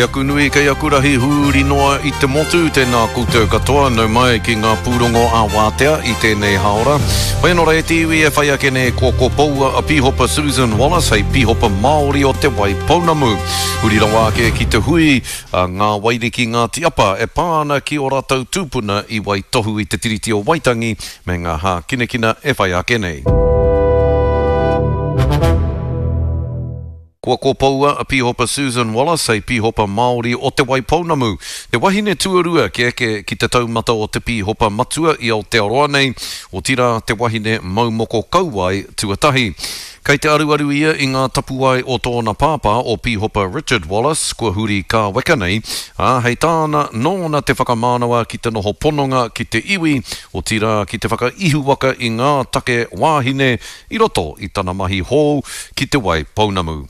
aku nui, kei aku rahi hūri noa i te motu, tēnā koutou katoa, nau mai ki ngā pūrongo ā-wātea i tēnei hāora. Whai anō rā e te iwi e whai ake nei kua kopoua a Pīhopa Susan Wallace hei Pīhopa Māori o Te Waipounamu. Huri rawa ake ki te hui a Ngā Wairiki Ngāti Apa e pā ana ki ō rātou tūpuna i waitohu i te Tiriti o Waitangi me ngā hākinakina e whai ake nei. Kua kopoua a Pīhopa Susan Wallace hei Pīhopa Māori o Te Waipounamu, te wahine tuarua kia eke ki te taumata o te Pīhopa Matua i Aotearoa nei, otirā te wahine mau moko kauae tuatahi. Kei te aruaru ia i ngā tapuwae o tōna pāpā o Pīhopa Richard Wallace, kua huri kāweka nei, ā, hei tāna, nōna te whakamānawa ki te noho pononga ki te iwi, otirā ki te whakaihuwaka i ngā take wāhine i roto i tana mahi hou ki Te Wai Pounamu.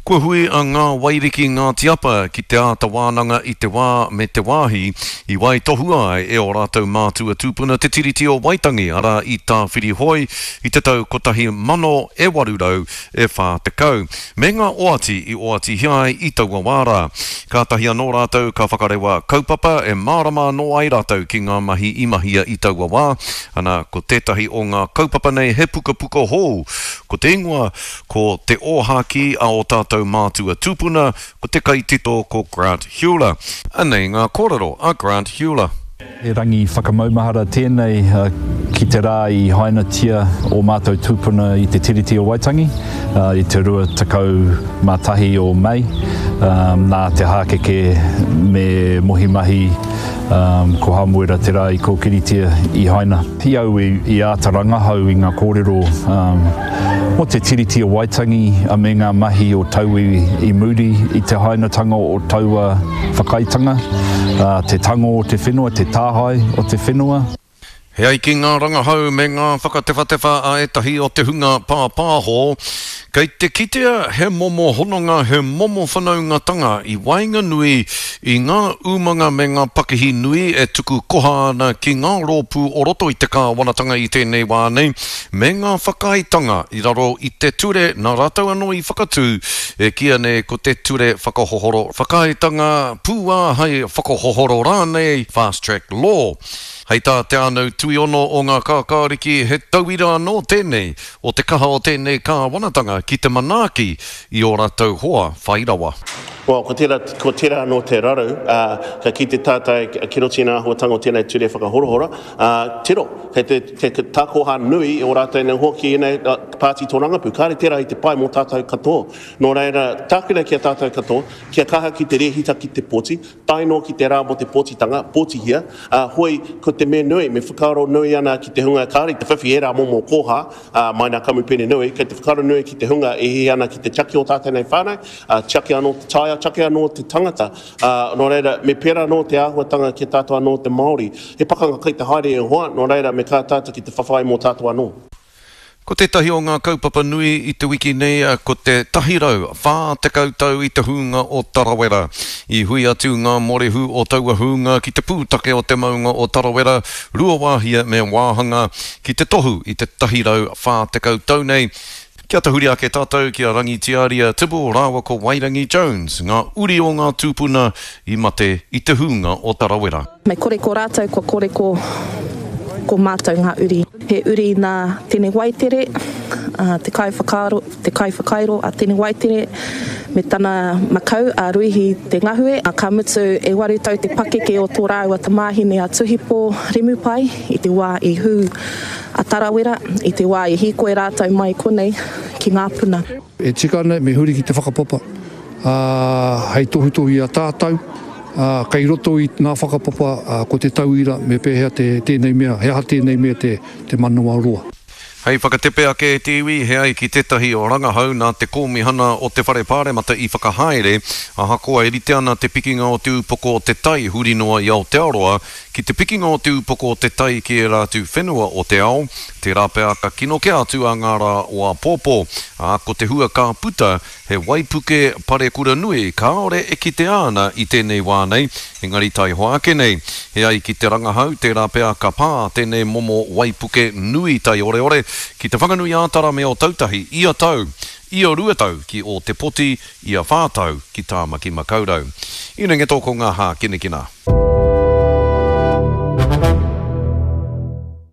Kua hui a Ngā Wairiki Ngāti Apa ki te āta wānanga i te wā me te wāhi i waitohua ai e ō rātou mātua tūpuna te Tiriti o Waitangi, arā i Tāwhirihoe i te tau 1840, me ngā oati i oatihia ai i taua wā rā. Kātahi anō rātou ka whakarewa kaupapa e mārama anō ai rātou ki ngā mahi i mahia i taua wā, Ana, ko tētahi o ngā kaupapa nei he pukapuka hou, ko te ingoa ko Te Ōhākī a ō tātou mātua tūpuna, ko te kaitito ko Grant Heuler. Anei ngā kōrero a Grant Heuler. He rangi whakamaumahara tēnei ki te rā i hainatia ō mātou tūpuna i te Tiriti o Waitangi i te 21 o Mei, nā te hākeke me Mohi Mahi Ko Hāmuera te rā i kōkiritia i haina. I au i āta rangahau i ngā kōrero mō te Tiriti o Waitangi me ngā mahi o tauiwi i muri i te hainatanga o taua whakaaetanga, te tango o te whenua, te tāhae o te whenua. E ai ki ngā rangahau me ngā whakatewhatewha a ētahi o te hunga pāpāho, kei te kitea he momo hononga, he momo whanaungatanga i waenganui i ngā umanga me ngā pakihi nui e tuku koha ana ki ngā rōpū o roto i te kāwanatanga i tēnei wā nei, me ngā whakaaetanga i raro i te ture nā rātou anō i whakatū, e kīia nei ko te Ture Whakahohoro Whakaaetanga Pūāhai Whakahohoro rānei, Fast Track Law. Hei tā Te Ānau Tuiono o Ngā Kākāriki he tauira anō tēnei o te kaha o tēnei kāwanatanga ki te manaaki i ō rātou hoa whai rawa. Well, ko tērā, ko tērā anō te raru, ā, ka kite tātou ki roto i ngā āhuatanga o tēnei ture whakahorahora, ā, tiro, kei te, kei te takoha nui o rātou nei hoa ki ēnei pāti tōrangapū. Kāre tērā i te pai mō tātou katoa. Nō reira, tākina ki a tātou katoa, kia kaha ki te rēhita ki te pōti, Tae noa ki te rā mō te pōtitanga, pōtihia, ā, hoi, ko te mea nui, me whakaaro nui ana ki te hunga kāore i te whiwhi ērā momo kōha, ā, mai nā kamupene nui, kei te whakaaro nui ki te hunga e hiahia ana ki te tiaki o tātou nei whānau, ā, tiaki anō te taiao, tiaki anō te tangata. Ā, nō reira, me pērā anō te āhuatanga ki a tātou anō te Māori. He pakanga kai te haere e hoa, nō reira, me kaha tātou ki te whawhai mō tātou anō. Ko tētahi o ngā kaupapa nui i te wiki nei ko te 140 tau i te hūnga o Tarawera. I hui atu ngā morehu o taua hūnga ki te pūtake o te maunga o Tarawera, Ruawāhia me Wāhanga, ki te tohu i te 140 tau nei. Kia tahuri ake tātou ki a Rangitiaria Tibble rāua ko Wairangi Jones, ngā uri o ngā tūpuna i mate i te hūnga o Tarawera. Me kore ko rātou kua kore ko ko mātou ngā uri. He uri nā Tene Waitere, te kaiwhakaaro, te kaiwhakairo a Tene Waitere me tana makau a Ruihi Te Ngahue, ka mutu e waru tau te pakeke o tō rāua tamāhine a Tuhipō Remupai i te wā i hū a Tarawera, i te wā i hīkoi rātou mai konei ki Ngāpuna. E tika ana me huri ki te whakapapa, ā, hei tohutohu i a tātou, ā, kei roto i ngā whakapapa, ā, ko te tauira me pēhea te, tēnei mea, he aha tēnei mea te, te manawa roa. Hei whakatepe ake e te iwi, he ai ki tētahi rangahau nā te Kōmihana o te Whare Pāremata i whakahaere, ahakoa e rite ana te pikinga o te upoko o te tai huri noa i Aotearoa ki te pikinga o te upoko o te tai ki ērā atu whenua o te ao, tērā pea ka kino kē atu a ngā rā o āpōpō, ā, ko te hua ka puta he waipuke parekura nui kāore e kitea ana i tēnei wā nei, engari taihoa ake nei. E ai ki te rangahau, tērā pea ka pā tēnei momo waipuke nui taioreore. ki Te Whanganui-ā-Tara me Ōtautahi ia tau, ia 2 tau ki Ōtepoti, ia whā tau ki Tāmaki Makaurau. Inengeto ko ngā hākinakina.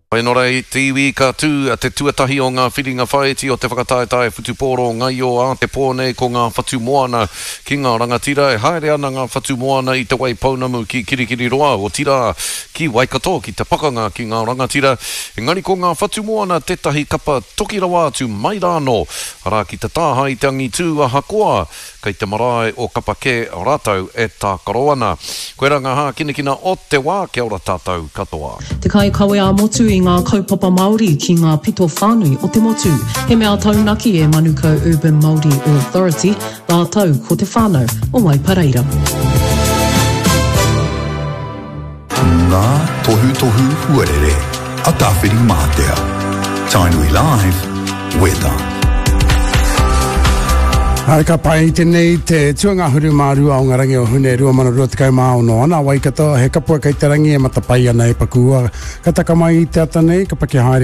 Whainora i te iwi ka tū te tuatahi o ngā whiringa whāiti o te whakataetae whutupōro ngaio ā te pō nei ko ngā whatu moana ki ngā rangatira e haere ana ngā whatu moana i Te Waipounamu ki Kirikiriroa otirā ki Waikato ki te pakanga ki ngā rangatira engari ko ngā whatu moana tētahi kapa toki rawa atu mai rānō arā ki te tāhae i te angitū ahakoa Kei te marae o Kapa kē rātou e tākaro ana. Koirā ngā hākinakina o te wā, kia ora tātou katoa. Te kaikawe ā-motu i ngā kaupapa Māori ki ngā pito whānui o te motu. He mea taunaki e Manukau Urban Māori Authority rātou ko te whānau o Waipareira. Ngā tohutohu huarere a Tāwhirimātea. Tainui Live, Weather. Hai ka pai tenei te tuangahuru mā rua o ngā rangi o Hune 2026 ana Waikato he kapua kei te rangi e matapai ana e pakua ka taka mai i te ata nei ka paki haere.